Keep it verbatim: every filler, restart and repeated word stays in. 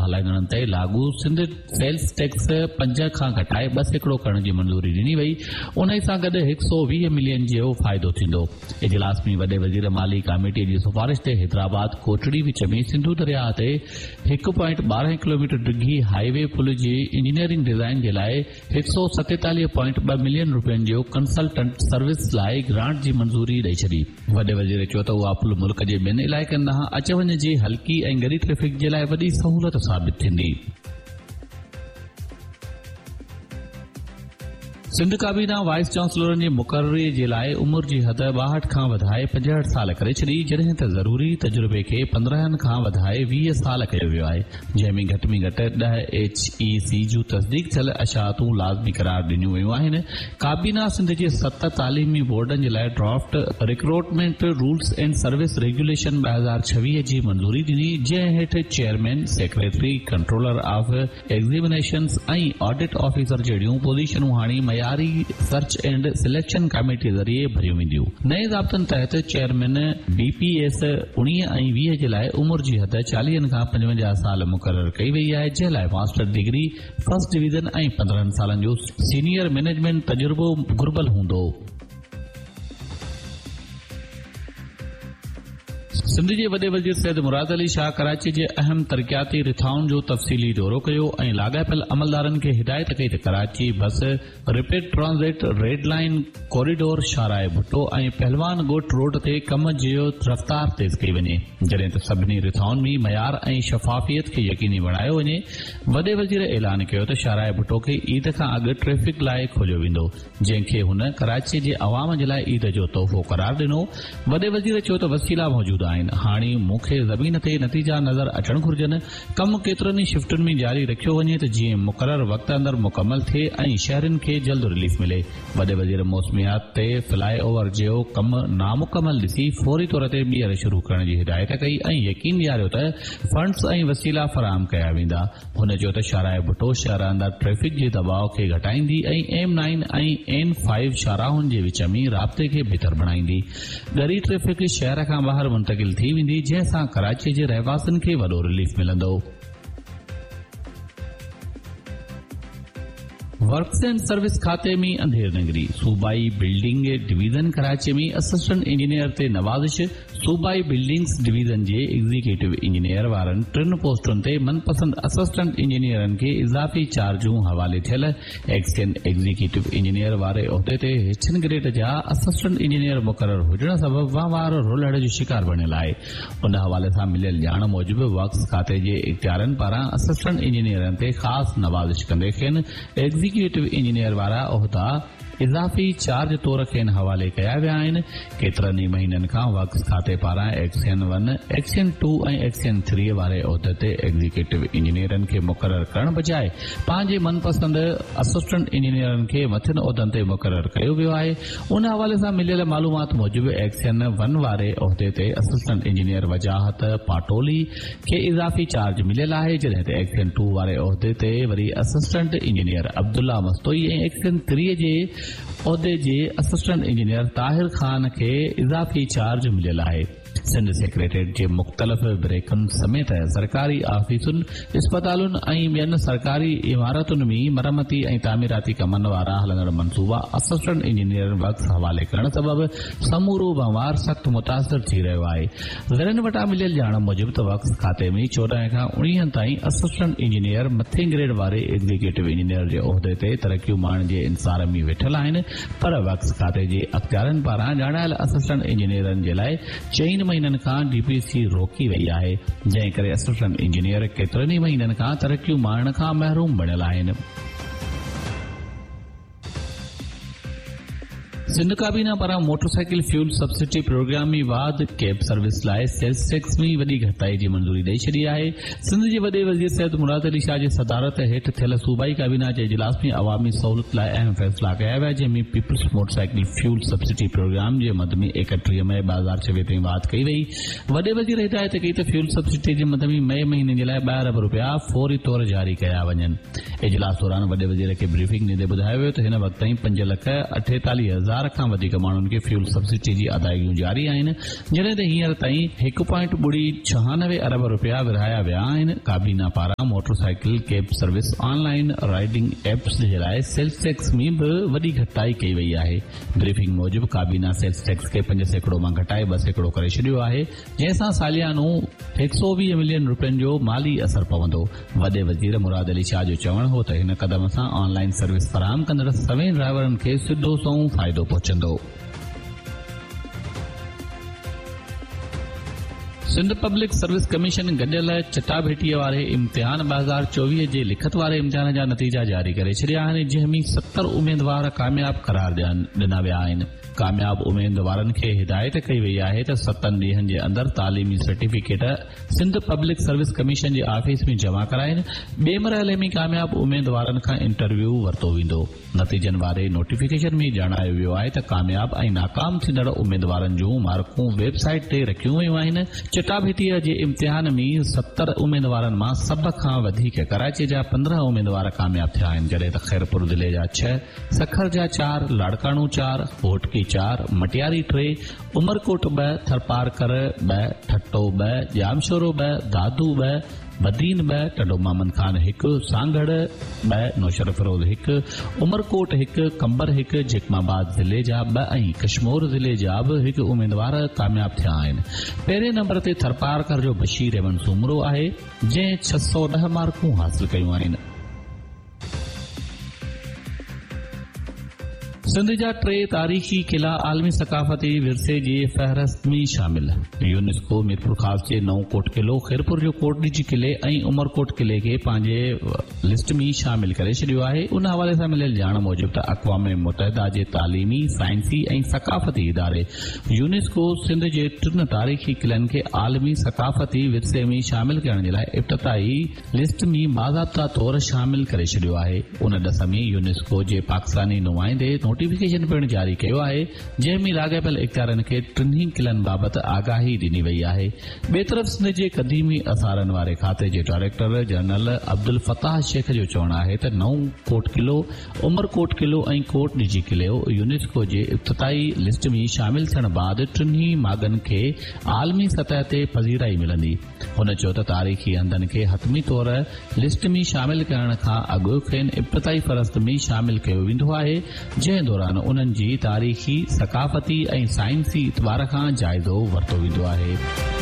هلائيندڙن تي لاڳو سنڌ سيلز ٽيڪس پنج کان گهٽائي ٻه سيڪڙو ڪرڻ جي منظوري ڏني وئي، انهي سان گڏ هڪ سؤ ويهه ملين جو فائدو ٿيندو. اجلاس ۾ وڏي وزير مالي ڪاميٽي جي سفارش تي حيدرآباد ڪوٽڙي وچ ۾ سنڌو درياهه تي هڪ پوائنٽ ٻارهن ڪلوميٽر ڊگهي هاء وي پل جي انجنيئرنگ ڊزائين جي لاء هڪ سؤ ستيتاليهه پوائنٽ ٻه ملين روپين جو ڪنسلٽنٽ سروس لاء گرانٽ جي منظوري ڏئي ڇڏي. وڏي وزير چيو ته اها پل ملڪ جي ٻين علائقن ڏانهن اچ وڃ جي هلڪي ۽ ڳري ٽريفڪ جي لاء وڏي سهولت ثابت ٿيندي. سنڌ ڪابينا وائيس چانسلرن جي مقرري جي لاء عمر جي حد ٻاهٺ کان وڌائي پنجهٺ سال ڪري ڇڏي، جڏهن ته ضروري تجربي کي پندرهن کان وڌائي ويهه سال ڪيو ويو آهي، جنهن ۾ گهٽ ۾ گهٽ ڏهه ايڇ اي سي جون تصديق ٿيل اشاعتون لازمي قرار ڏنيون ويون آهن. ڪابينا سنڌ جي ست تعليمي بورڊن جي لاء draft recruitment rules and service regulation ٻه هزار ڇويهه جي منظوري ڏني، جنهن هيٺ chairman, secretary, controller of examinations ۽ audit officer جهڙيون پوزيشنون هاڻي معياري سرچ اينڊ سليڪشن ڪاميٽي ذريعي ڀريون وينديون. نئين ضابطن تحت چيئرمين بي پي ايس اڻويهه ۽ ويهه جي لاء عمر جي حد چاليهن کان پنجونجاهه سال مقرر ڪئي وئي آهي، جنهن لاء ماسٽر ڊگري فرسٽ ڊويزن ۽ پندرهن سالن جو سينيئر مئنيجمينٽ تجربو گهربل هوندو. سنڌ جي وڏي وزير سيد مراد علي شاهه ڪراچي جي اهم ترقياتي رٿائن جو تفصيلي دورو ڪيو ۽ لاڳاپيل عملدارن کي هدايت ڪئي ته Karachi bus rapid transit, red line corridor, شاهراهه ڀٽو ۽ پهلوان ڳوٺ روڊ تي ڪم جي رفتار تيز ڪئي وڃي، جڏهن ته سڀني رٿائن ۾ معيار ۽ شفافيت کي يقيني بڻايو وڃي. وڏي وزير اعلان ڪيو ته شاهراهه ڀٽو کي عيد کان اڳ ٽريفڪ لاء کوليو ويندو، جنهن کي هن ڪراچي جي عوام جي لاء عيد جو تحفو قرار ڏنو. وڏي وزير چيو ته وسيلا موجود آهن، هاڻي مون کي زمين تي نتيجا نظر اچڻ گهرجن، ڪم ڪيترن ئي شفٽن ۾ جاري رکيو وڃي ته جيئن مقرر وقت اندر مڪمل ٿئي ۽ شهرين کي جلد رليف ملي. وڏي وزير موسميات تي فلاء اوور جو ڪم نامڪمل ڏسي فوري طور تي ٻيهر شروع ڪرڻ جي هدايت ڪئي ۽ يقين ڏياريو ته فنڊز ۽ وسيلا فراهم ڪيا ويندا. هن چيو ته شاهراهه ڀٽو شهر اندر ٽريفڪ جي دٻاء کي گهٽائيندي ۽ ايم نائين ۽ اين فائيو شاهراهن جي وچ ۾ رابطي کي بهتر بڻائيندي. ڳري ٽريفڪ شهر کان ٻاهر منتقل ٿي ويندي، جنهن سان ڪراچي جي رهواسين کي وڏو رليف ملندو. ورڪس اينڊ سروس کاتي ۾ انڌير نگري، صوبائي building division Karachi ۾ assistant engineer تي نوازش، صوبائي بلڊنگس ڊويزن جي ايگزيڪيوٽو انجنيئر وارن ٽن پوسٽن تي من پسند اسسٽنٽ انجنيئرن کي اضافي چارجون حوالي ٿيل ايڪسين ايگزيڪيوٽو انجنيئر واري عهدي تي هيٺين گريڊ جا اسسٽنٽ انجنيئر مقرر هجڻ سبب وهنوار رولهڙ جو شڪار بڻيل آهي. ان حوالي سان مليل ڄاڻ موجب ورڪس کاتي جي اختيارين پاران اسسٽنٽ انجنيئرن تي خاص نوازش ڪندي کين ايگزيڪيوٽو انجنيئر وارا عهدا اضافي چارج طور کين حوالي ڪيا ويا آهن. ڪيترن ئي مهينن کان ورڪس کاتي پاران XEN one, XEN two ۽ XEN three واري عهدي تي ايگزيڪيوٽو انجنيئرن کي مقرر ڪرڻ بجاء پنهنجي من پسند اسسٽنٽ انجنيئرن کي مٿين عهدن تي مقرر ڪيو ويو آهي. ان حوالي سان مليل معلومات موجب ايڪسين ون واري عهدي تي اسسٽنٽ انجنيئر وجاهت پاٽولي کي اضافي چارج مليل آهي، جڏهن ته ايڪسين ٽو واري عهدي تي وري assistant engineer Abdullah Mastoi ۽ XEN ٿري جي عهدي جي اسسٽنٽ انجنيئر طاهر خان کي اضافي چارج مليل آهي. سنڌ سيڪريٽريٽ جي مختلف بريڪن سميت سرڪاري آفيسن، اسپتالن ۽ ٻين سرڪاري عمارتن ۾ مرمتي ۽ تعميراتي ڪمن وارا هلندڙ منصوبا اسسٽنٽ انجنيئرن ورڪس حوالي ڪرڻ سبب سمورو وهنوار سخت متاثر ٿي رهيو آهي. ذريعن وٽان مليل ڄاڻ موجب ته ورڪس کاتي ۾ چوڏهن کان اڻويهن تائين اسسٽنٽ انجنيئر مٿين گريڊ واري ايگزيڪيوٽو انجنيئر جي عهدي تي ترقيون ماڻڻ جي انتظار ۾ ويٺل آهن پر ورڪس کاتي جي اختيارين پاران ڄاڻايل اسسٽنٽ انجنيئرن جي لاء چئن مهينن کان ڊي پي سي روڪي وئي آهي جنهن ڪري اسسٽنٽ انجنيئر ڪيترن ئي مهينن کان ترقيون ماڻڻ کان محروم بڻيل آهن. سنڌ ڪابينا پاران موٽرسائيڪل فيول سبسڊي پروگرام ۾ واڌ، ڪيب سروس لاء سيلز ٽيڪس ۾ وڏي گهٽتائي جي منظوري ڏئي ڇڏي آهي. سنڌ جي وڏي وزير سيد مراد علي شاهه جي صدارت هيٺ ٿيل صوبائي ڪابينا جي اجلاس ۾ عوامي سهولت لاء اهم فيصلا ڪيا ويا جنهن ۾ peoples motorcycle fuel subsidy programme جي مد ۾ ايڪٽيهه مئي ٻه هزار ڇويهه تائين واڌ ڪئي وئي. وڏي وزير هدايت ڪئي ته فيول سبسڊي جي مد ۾ مئي مهيني جي لاء ٻه ارب رپيا فوري طور جاري ڪيا وڃن. اجلاس دوران وڏي وزير کي بريفنگ ڏيندي ٻڌايو ويو ته هن وقت تائين پنج لک اٺيتاليهه هزار هزار کان وڌيڪ ماڻهن کي فيول سبسڊي جي ادائيگيون جاري آهن، جڏهن ته هينئر تائين هڪ پوائنٽ ٻڙي ڇهانوي ارب رپيا ورهايا ويا آهن. ڪابينا پاران motorcycle, cab service, online riding apps جي لاء سيلز ٽيڪس ۾ به وڏي گهٽتائي ڪئي وئي آهي. بريفنگ موجب ڪابينا سيلز ٽيڪس کي پنج سيڪڙو مان گهٽائي ٻه سيڪڙو ڪري ڇڏيو آهي، جنهن سان ساليانو هڪ سؤ ويهه ملين رپين جو مالي اثر پوندو. وڏي وزير مراد علي شاهه جو چوڻ هو ته هن قدم سان آن لائن سروس فراهم ڪندڙ سوين ڊرائيورن کي سڌو سنئون فائدو پهچندو. سنڌ پبلڪ سروس ڪميشن گڏيل چٽاڀيٽيء واري امتحان ٻه هزار چوويهه جي لکت واري امتحان جا نتيجا جاري ڪري ڇڏيا آهن، جنهن ۾ ستر اميدوار ڪامياب قرار ڏنا ويا آهن. ڪامياب اميدوارن کي هدايت ڪئي وئي آهي ته ستن ڏينهن جي اندر تعليمي certificate Sindh public service commission جي آفيس ۾ جمع ڪرائين. ٻئي مرحلي ۾ ڪامياب اميدوارن کان انٽرويو ورتو ويندو. نتيجن واري نوٽيفڪيشن ۾ ڄاڻايو ويو آهي ته ڪامياب ۽ ناڪام ٿيندڙ اميدوارن جون مارڪون ويب سائيٽ تي رکيون ويون آهن. چٽاڀيٽيء جي امتحان ۾ ستر اميدوارن مان سڀ کان وڌيڪ ڪراچي جا پندرهن اميدوار ڪامياب ٿيا آهن، جڏهن ته خيرپور ضلعي جا ڇهه، سکر جا چار، لاڙڪاڻو چار، گهوٽڪي چار، مٽياري ٽي، عمرڪوٽ ٻه، ٿرپارڪر ٻه، ٺٽو ٻه، ڄامشورو ٻه، دادو ٻه، بدين ٻه، ٽنڊو محمد خان هڪ، سانگهڙ ٻه، نوشهروفيروز هڪ، عمرڪوٽ هڪ، قمبر هڪ، جيڪب آباد ضلعي جا ٻه ۽ ڪشمور ضلعي جا به هڪ اميدوار ڪامياب ٿيا آهن. پهرين نمبر تي ٿرپارڪر جو بشير احمد سومرو آهي، جنهن ڇهه سؤ ڏهه مارڪون حاصل ڪيون آهن. سنڌ جا ٽي تاريخي قلعا عالمي ثقافتي ورثي جي فهرست ۾ شامل. يونيسڪو ميرپورخاص جي نئون ڪوٽ قلعو، خيرپور جو ڪوٽ ڏيجي قلعي ۽ عمرڪوٽ قلعي کي پنهنجي لسٽ ۾ شامل ڪري ڇڏيو آهي. ان حوالي سان مليل ڄاڻ موجب ته اقوام متحده جي تعليمي، سائنسي ۽ ثقافتي اداري يونيسڪو سنڌ جي ٽن تاريخي قلعن کي عالمي ثقافتي ورثي ۾ شامل ڪرڻ جي لاء ابتدائي لسٽ ۾ باضابطا طور شامل ڪري ڇڏيو آهي. ان ڏس ۾ يونيسڪو جي پاڪستاني نمائندي نوٽيفڪيشن پڻ جاري ڪيو آهي، جنهن ۾ لاڳاپيل اختيارين کي ٽنهي قلعن بابت آگاهي ڏني وئي آهي. ٻئي طرف سنڌ جي قديمي آثارن واري کاتي جي ڊائريڪٽر جنرل عبدالفتاح شيخ جو چوڻ آهي ته نئون ڪوٽ قلعو، عمرڪوٽ قلعو ۽ ڪوٽ ڏيجي قلعو يونيسڪو جي ابتدائي لسٽ ۾ شامل ٿيڻ بعد ٽنهي ماڳن کي عالمي سطح تي پذيرائي ملندي. هن چيو ته تاريخي هنڌن کي حتمي طور لسٽ ۾ شامل ڪرڻ کان اڳ کين ابتدائي فهرست ۾ شامل ڪيو ويندو آهي، جنهن دوران انهن جي تاريخي، ثقافتي ۽ سائنسي اعتبار کان جائزو ورتو ويندو آهي.